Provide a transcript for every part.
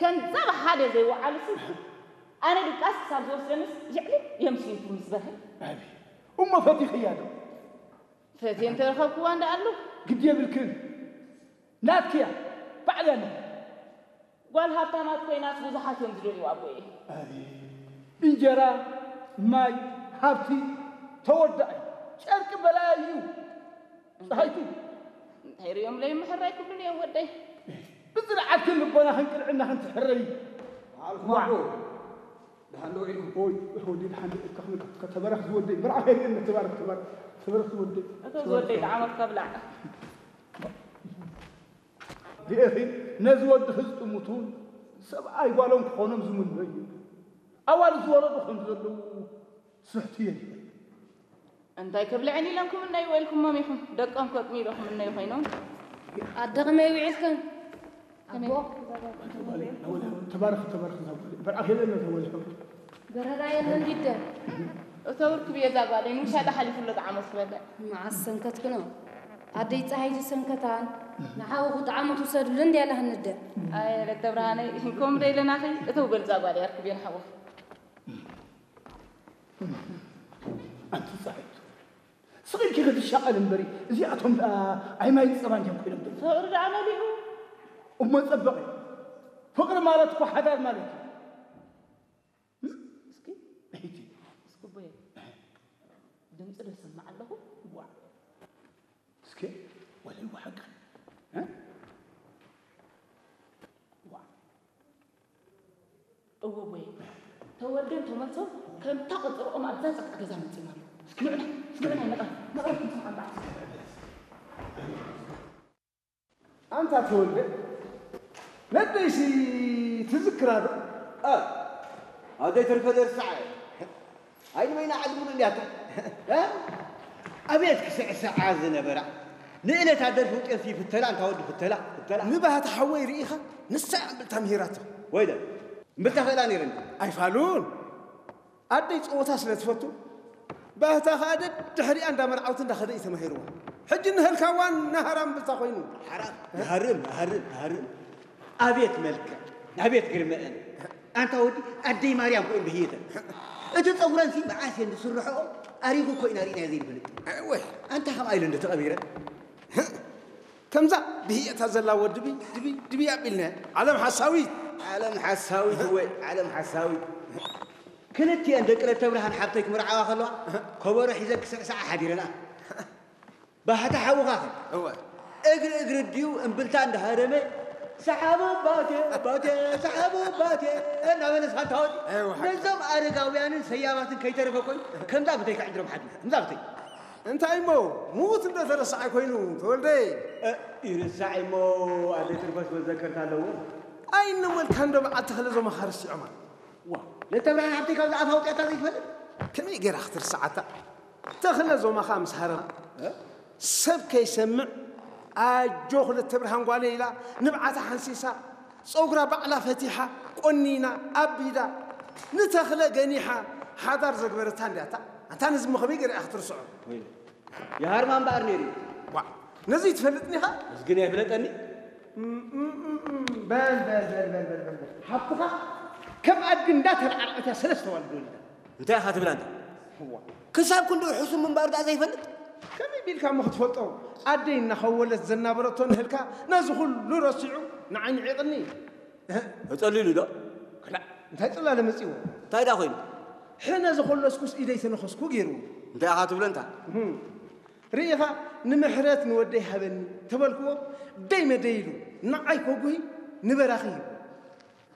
ከንዘብ ሓደ ዘይወዓሉ ስልኪ ኣነ ድቃስ ክሳብ ዝወስደንስ ልዕሊ የምስዩቱ ምስ በርሀ። ኣቢ እሞ ፈቲኽያ ዶ? ፈትየ እንተረኸብክዋ እንዳ ኣሉ። ግዲ የብልክን። ናትክያ ባዕልያ ነህ። ጓል ሃብታማት ኮይናስ ብዙሓት እዮም ዝደልዩ ኣቦየ። ኣቢ እንጀራ፣ ማይ፣ ሃብቲ ተወዳእ እዩ። ጨርቂ በላያ እዩ። ፀሃይቱ እንታይ ሪኦም ለይምሕር ኣይክብሉን እዮም ወደይ። ብፅንዓትክን ልቦናኽን ቅንዕናኽን ትሕረይ። በዓልኩም ኣቦ። ደሓን ዶ ኢልኩም? ኦይ ወዲ ደሓን ዶ ኢልካ? ከተባረኽ ዝወደይ። ብርዓ ከይርእየኒ። ተባረኽ፣ ተባረኽ፣ ተባረኽ ዝወደይ። እቶ ዝወደይ ጣዕሞት ከብላዕ። ርኤኺ፣ ነዚ ወዲ ህዝጥሙቱን ሰብኣይ ጓሎም ክኾኖም ዝምነዩ ኣዋልድ ዝወለዱ ከም ዘለዉ ስሕቱ የድልየ። እንታይ ክብልዕን ኢሎም ክምነዩ ወይልኩሞም ኢኹም። ደቆም ከጥምዩ ዶ ክምነዩ ኮይኖም? ኣደ ከመይ ውዒልክን? ኣቦ። ተባረኽ፣ ተባረኽ፣ ተባረኽ። በርዓ ከይርእየኒ ተወልኩም። በረራ የለን ዲደ። እቶ ውርክ ብየ እዛ ጓለይ ንውሻ ተሓሊፉ ኣሎ ጣዕሞት ክበልዕ። መዓስ ሰንከትክኖ? ኣደይ ፀሃይቲ ሰንከታን ንሓውኹ ጣዕሞት ውሰዱሉ እንድያ ለሃንደ። ኣየ ለተ ብርሃነይ፣ ከምኡ ዶ ኢለናኺ? እተው በል እዛ ጓለይ ኣርክብዮ ንሓውኺ። ኣንቲ ጻይቱ፣ ስቕ ኢልኪ ክትሻቐል እምበሪ፣ እዚኣቶም ደኣ ኣይ ማይ ጸባን እዮም ኮይኖም ዘለዉ። ፍቕሪ ደኣ መሊኡ። እሞ ጸበቐ። ፍቕሪ ማለት እኮ ሓዳር ማለት እዩ። እስኪ፣ እሂቲ። እስኪ ቦየ፣ ድምፂ ዶ ሰማዕ ኣለኹ? ዋ። እስኪ፣ ወለይ ዋ ሓቂ። እ? ዋ። እወ ቦየ፣ ተወልደን ተመልሶን ከምታ ቀጸርኦም ኣብዛ ጸጥታ ገዛ መጺኦም ኣለዉ። እስኪ ንዑና፣ እስኪ ንዑና፣ ንቕረብ፣ ንቕረብ ክንሰምዖም በዓል። ኣንታ ተወልደ፣ ነደይሲ ትዝክራ ዶ? እ፣ ኣደይ ትርፈ ደርሳዓ። ኣይ ንበይና ዓዲ ሙሉእ እንዲያታ። እ? ኣቤት ክስዕስዓ ዝነበራ። ንእለታ ደርፊ ውጤት ይፍተላ፣ እንታ ወዲ ፍተላ፣ ፍተላ። ንባህታ ሓወይ ርኢኻ? ንሳ እያ እምብልታ ምሂራቶ። ወይለ፣ እምብልታ ክእላ ነይረኒ። ኣይፋሉን። ኣደይ ጸወታ ስለ ትፈቱ፣ ባህታ ኸኣ ደድሕሪኣ እንዳ መርዓውቲ እንዳ ኸደ እዩ ተማሂርዋ። ሕጂ ንህልካ ዋና ሃራም ብታ ኮይኑ። ሓራም፣ ይሃርም፣ ይሃርም፣ ይሃርም። ኣቤት መልክዕ፣ ኣቤት ግርመአን። ኣንታ ወዲ ኣደይ ማርያም ኮይኑ ብህየተን። እቲ ጸጉረንሲ መዓስ እየን ዝስርሕኦ ኣሪጉ እኮ ኢና ርኢናዮ ዘይንፈልጥ። እወ። ኣንታ ከምኣ ኢሉ እንዶ ተቐቢረ። ከምዛ ብህየታ ዘላ ወዲ ድቢ፣ ድቢ፣ ድቢ ኣቢልና። ዓለም ሓሳዊት። ዓለም ሓሳዊት፣ እወ፣ ዓለም ሓሳዊት። ክልቲኤን ደቂ ለተብርሃን ሓብተይ ክምርዓዋ ከለዋ፣ ከበሮ ሒዘን ክስዕስዓ ሓዲረን። ኣህ። ባህታ ሓውኻ ኸ? እወ። እግሪ እግሪ ድዩ እምብልታ እንዳሃረመ፣ ሰሓቦ ባቴ፣ ባቴ፣ ሰሓቦ ባቴ እናበለ ስኻ እንታወዲ። እወ፣ ሓቂ። ነዞም ኣረጋውያንን ሰያማትን ከይተረፈ ኮይኑ፣ ከምዛ ብተይ ከዕድሮም ሓድሩ። ከምዛ ብተይ። እንታይ እሞ፣ ሙት እንዶ ተረሳዓይ ኮይኑ፣ ተወልደይ? እ፣ ይርሳዕ እሞ፣ ኣደ ትርፈስ መዘከርታ ኣለዎ። ኣይነመልካ እንዶ በዓል ተኽለ ዞማኻ ረሲዖማ። ዋ፣ ለተብርሃን ሓብተይ ካብዛ ኣፍ ኣውፂኣታ ዘይትፈልጥ? ከመይ ገይራ ክትርስዓታ? ተኽለ ዞማኻ ምስ ሃረማ፣ እ? ሰብ ከይሰምዕ፣ ኣጆ ክልተ ብርሃን ጓለይ ኢላ፣ ንብዓታ ሓንሲሳ፣ ጸጉራ ባዕላ ፈቲሓ፣ ቆኒና፣ ኣቢዳ፣ ንተኽለ ገኒሓ፣ ሓዳር ዘግበረታ እንድያታ። ኣንታ ነዚ እሞ ከመይ ገይራ እያ ክትርስዖ? ወይ፣ ይሃርማ እምበኣር ነይሩ እዩ። ዋ፣ ነዚ ትፈልጥኒ ኢኻ? እዚ ግን ኣይፍለጠኒ። እም፣ እም፣ እም፣ እም፣ በል፣ በል፣ በል። ሓብትኻ ከም ኣድጊ እንዳተርዓርዐት እያ ሰለስተ ዋልድ ወሊዳ። እንታይ ኢኻ ትብል ኣንታ? እዋ። ክሳብ ክንድኡ ሕሱም ምንባሩ ደኣ ዘይፈልጥ? ከመይ ቢልካ እሞ ክትፈልጦ? ኣደይ እናኸወለት ዘናበረቶ ንህልካ ነዚ ኩሉ ረሲዑ ንዓይ ንዒቕኒ። እህ። ተጸሊሉ ዶ? ክላእ፣ እንታይ ጽላለ መጺዎ? እንታይ ደኣ ኮይኑ? ሕነ ዘኾለስኩስ ኢደይ ተነኸስኩ ገይሩ። እንታይ ኢኻ ትብሎ እንታ? እህም። ርኢኻ፣ ንምሕረት ንወደይ ሃበኒ ተበልክዎ፣ ደይ መደይ ኢሉ ንዓይ ከጉሂ ንበራኺ ሂቡ።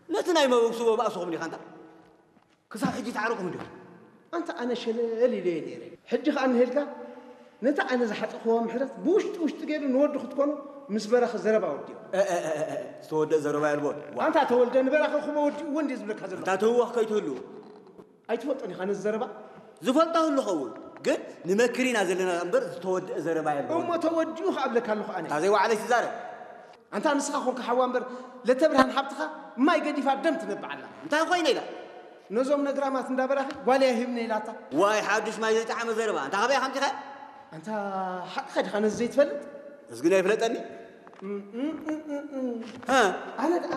ነቲ ናይ መበግስዎ ባእስኹም ዲኻ እንታ? ክሳብ ሕጂ ተዓረቑ እንዲኹም። ኣንታ ኣነ ሸለል ኢለዮ ነይረ። ሕጂ ኸኣ እንሄልካ፣ ነታ ኣነ ዝሓጸኽዋ ምሕረት ብውሽጢ ውሽጢ ገይሩ ንወዲ ክትኮኖ ምስ በራኺ ዘረባ ወዲኡ። እ፣ እ፣ እ፣ እ፣ እ፣ ዝተወደአ ዘረባ የልቦን። ዋ። ኣንታ ተወልደ ንበራኺ ክቦ ወዲእዎ እንድየ ዝብለካ ዘለኹ። ኣንታ ተህወኽ ከይትህሉ። ኣይትፈልጦን ኢኻ ነዚ ዘረባ? ዝፈልጦ ህሉ ኸውን፣ ግን ንመክር ኢና ዘለና እምበር ዝተወደአ ዘረባ የልቦን። እሞ ተወዲኡ ክኣብለካ ኣለኹ ኣነ። እታ ዘይወዓለይ ትዛረብ። ኣንታ ንስኻ ኾንካ ሓዋ እምበር ለተብርሃን ሓብትኻ ማይ ገዲፋ ደም ትነብዕ ኣላ። እንታይ ኮይነ ኢላ? ነዞም ነግራማት እንዳበራኺ ጓለይ ኣይህብኒ ኢላታ። ዋይ ሓዱሽ ማይ ዘይጠዓመ ዘረባ። ኣንታ ካበይ ከምፂኻ? ኣንታ ሓቅኻ ዲኻ ነዚ ዘይትፈልጥ? እዚ ግን ኣይፍለጠኒ። እም፣ እም፣ እም፣ እም፣ እም። ሃ? ኣነ ደኣ